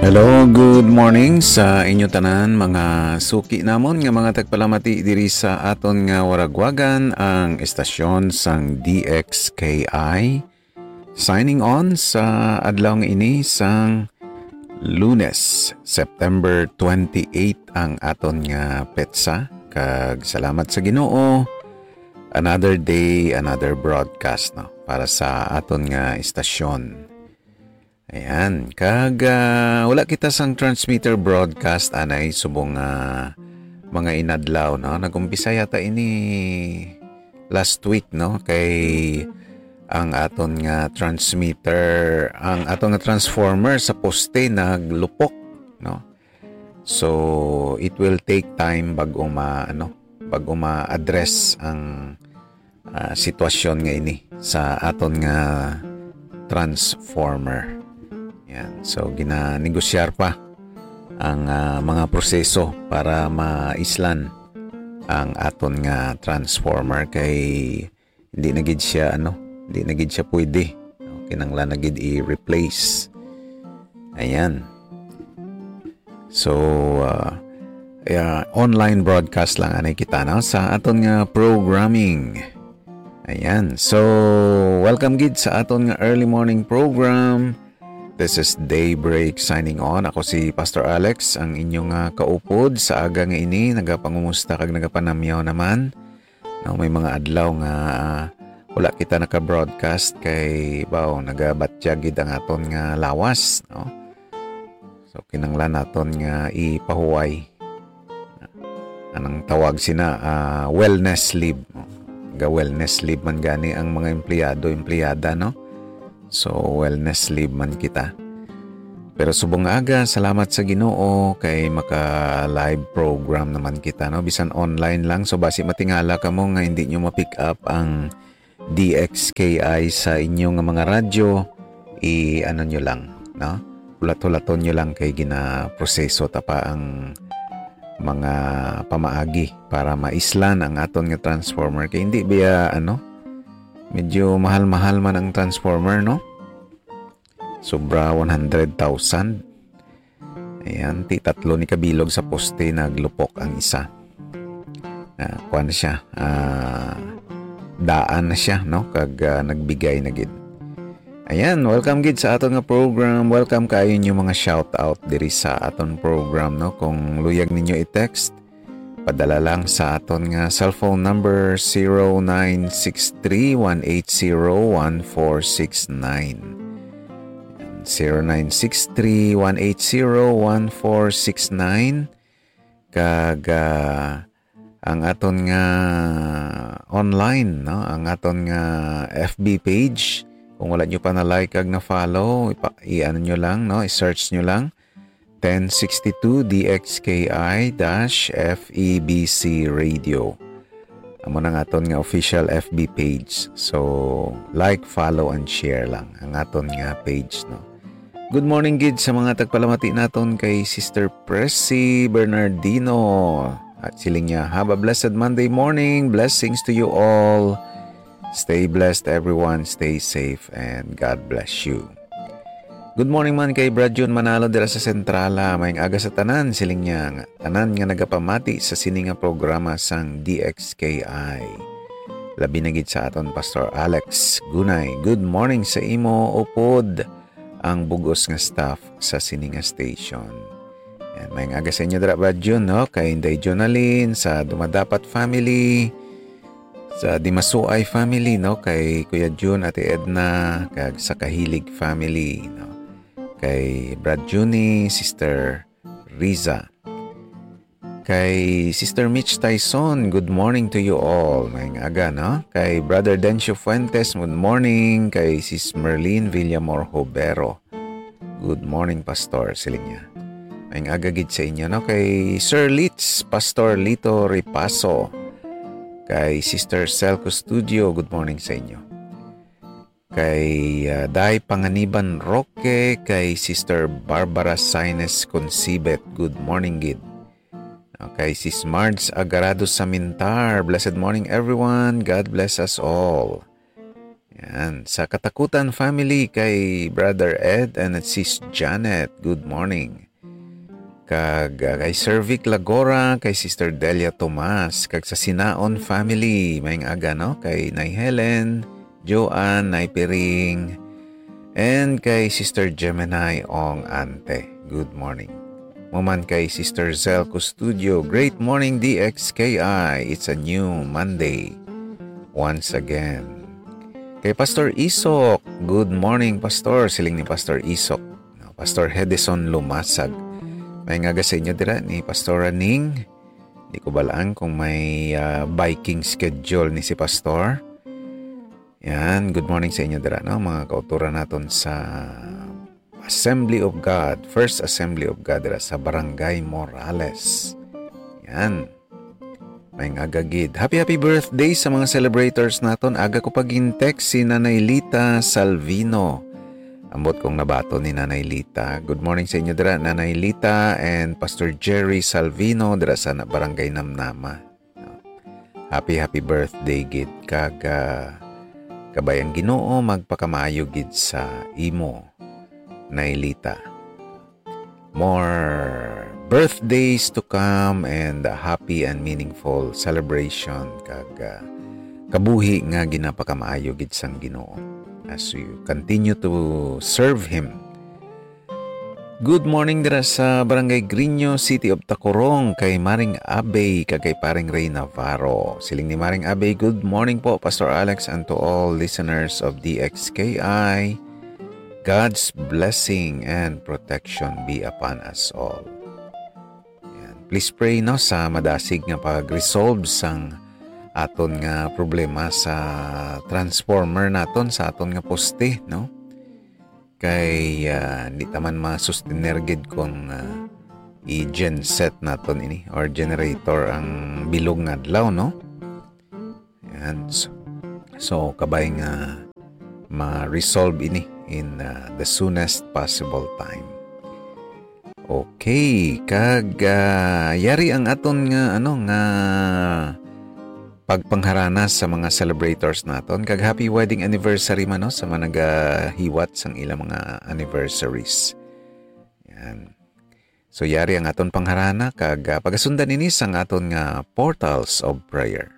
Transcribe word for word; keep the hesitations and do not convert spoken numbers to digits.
Hello, good morning sa inyo tanan, mga suki namon nga mga tagpalamati diri sa aton nga waragwagan, ang estasyon sang D X K I. Signing on sa adlaw nga ini sang Lunes, September twenty-eight ang aton nga petsa, kag salamat sa Ginoo, another day, another broadcast, no, para sa aton nga estasyon. Ayan. Kag, ah, wala kita sang transmitter broadcast anay subong nga mga inadlaw, no? Nag-umpisa yata ini last week, no? Kay ang aton nga transmitter, ang aton nga transformer sa poste naglupok, no? So, it will take time bago ma-, ano, bago ma-address ang, ah, sitwasyon nga ini sa aton nga transformer. Yan. So, ginanegosyar pa ang, ah, mga proseso para maislan ang aton nga transformer kay hindi na gid siya, ano, hindi na gid siya pwede. No? Kinahanglan na gid i-replace. Ayan. So, ah, yeah, online broadcast lang anay kita, no, sa aton nga programming. Ayan. So, welcome gid sa aton nga early morning program. This is Daybreak signing on. Ako si Pastor Alex, ang inyong, ah, kaupod sa aga nga ini. Nagapangumusta kag nagapanamyaw naman. No, may mga adlaw nga, ah, wala kita naka-broadcast kay, baw, nagabatyag gid ang aton nga lawas, no? So, kinahanglan naton nga ipahuway. Anang tawag sina, ah, wellness leave. Ga-wellness leave man gani ang mga empleyado, empleyada, no? So, wellness leave man kita. Pero subong aga, salamat sa Ginoo kay maka-live program naman kita, no? Bisan online lang. So, basi matingala kamo nga hindi nyo ma-pick up ang D X K I sa inyo nga mga radyo, i-ano nyo lang, no? Hulat-hulaton nyo lang kay ginaproseso ta pa ang mga pamaagi para maislan ang aton nga transformer. Kay hindi biya, ano, medyo mahal-mahal man ang transformer, no? Sobra one hundred thousand. Ayan, ti tatlo ni kabilog sa poste, naglupok ang isa. Ah, kuwan siya, ah, daan na siya, no? Kag, ah, nagbigay na gid. Ayan, welcome gid sa aton nga program. Welcome kayo inyo mga shout out diri sa aton program, no? Kung luyag ninyo i-text, padala lang sa aton nga cellphone number, zero nine six three, one eight zero, one four six nine. Zero nine six three, one eight zero, one four six nine. Kag, ah, ang aton nga online, no? Ang aton nga F B page. Kung wala nyo pa na-like kag na-follow, ipa-, i-ano nyo lang, no? I-search nyo lang. Ten sixty-two D X K I dash F E B C Radio. Amo na ang aton nga official F B page. So, like, follow, and share lang ang aton nga page, no? Good morning gid sa mga tagpalamati naton kay Sister Pressy Bernardino. At siling niya, "Have a blessed Monday morning. Blessings to you all. Stay blessed, everyone. Stay safe, and God bless you." Good morning man kay Brad Jun Manalo dira sa Centrala. Maayong aga sa tanan, siling niya, nga tanan nga nagapamati sa sini nga programa sang D X K I. Labi na gid sa aton Pastor Alex Gunay. Good morning sa imo, upod ang bug-os nga staff sa sini nga station. Yan, maayong aga sa inyo dira, Brad Jun, no? Kay Inday Jonalyn, sa Dumadapat family, sa Dimasuay family, no? Kay Kuya Jun, Ate Edna, kag sa Kahilig family, no? Kay Brad Junie, Sister Riza. Kay Sister Mitch Tyson, good morning to you all. Maayong aga, no? Kay Brother Dencio Fuentes, good morning. Kay Sis Merlin Villamor Hobero, "Good morning, Pastor," siling niya. Maayong aga gid sa inyo, no? Kay Sir Litz, Pastor Lito Ripaso. Kay Sister Cel Custodio, good morning sa inyo. Kay, ah, Day Panganiban Roque, kay Sister Barbara Saines Concibet, good morning gid. Okay, Sis Marge Agarado Samintar, "Blessed morning, everyone. God bless us all." Yan. Sa Katakutan family, kay Brother Ed and Sis Janet, good morning. Kag, ah, kay Sir Vic Lagora, kay Sister Delia Tomas, kag sa Sinaon family, maayong aga, no? Kay Nay Helen, Joanne, Nay Piring, and kay Sister Gemini Ong Ante. Good morning. Mo man kay Sister Zel Custodio, great morning, D X K I. It's a new Monday. Once again. Kay Pastor Isok, good morning, Pastor. Siling ni Pastor Isok. No, Pastor Hedison Lumasag. Maayong aga sa inyo dira ni Pastor Raning. Di ko balaan kung may, ah, biking schedule ni si Pastor. Yan, good morning sa inyo dira, no? Mga kauturan naton sa Assembly of God, First Assembly of God dira sa Barangay Morales. Yan. Maayong aga gid. Happy, happy birthday sa mga celebrators naton. Aga ko pa gin-text si Nanay Lita Salvino. Ambot kong nabaton ni Nanay Lita. Good morning sa inyo dira, Nanay Lita and Pastor Jerry Salvino dira sa na-, Barangay Namnama. Happy, happy birthday gid kag, ah, kabay ang Ginoo magpakamaayo gid sa imo, Nay Lita. More birthdays to come and a happy and meaningful celebration kag, ah, kabuhi nga ginapakamaayo gid sang Ginoo as you continue to serve Him. Good morning dira sa Barangay Griño, City of Tacurong, kay Maring Abey kag kay Paring Ray Navarro. Siling ni Maring Abey, "Good morning po, Pastor Alex, and to all listeners of D X K I. God's blessing and protection be upon us all." Yan. Please pray, no, sa madasig nga pag-resolve sang aton nga problema sa transformer naton, sa aton nga poste, no? Kay, ah, di ta man ma-sustener gid kung, ah, i-genset naton ini or generator ang bilog nga adlaw, no? Yan. So, so, kabay nga ma-resolve ini in, ah, the soonest possible time. Okay, kag, ah, yari ang aton nga, ano, nga pagpangharana sa mga celebrators naton, kag happy wedding anniversary man, no, sa mga nagahiwat sang ilang mga anniversaries. Yan. So, yari ang aton pangharana, kag, ah, pagasundan ini sang aton nga portals of prayer.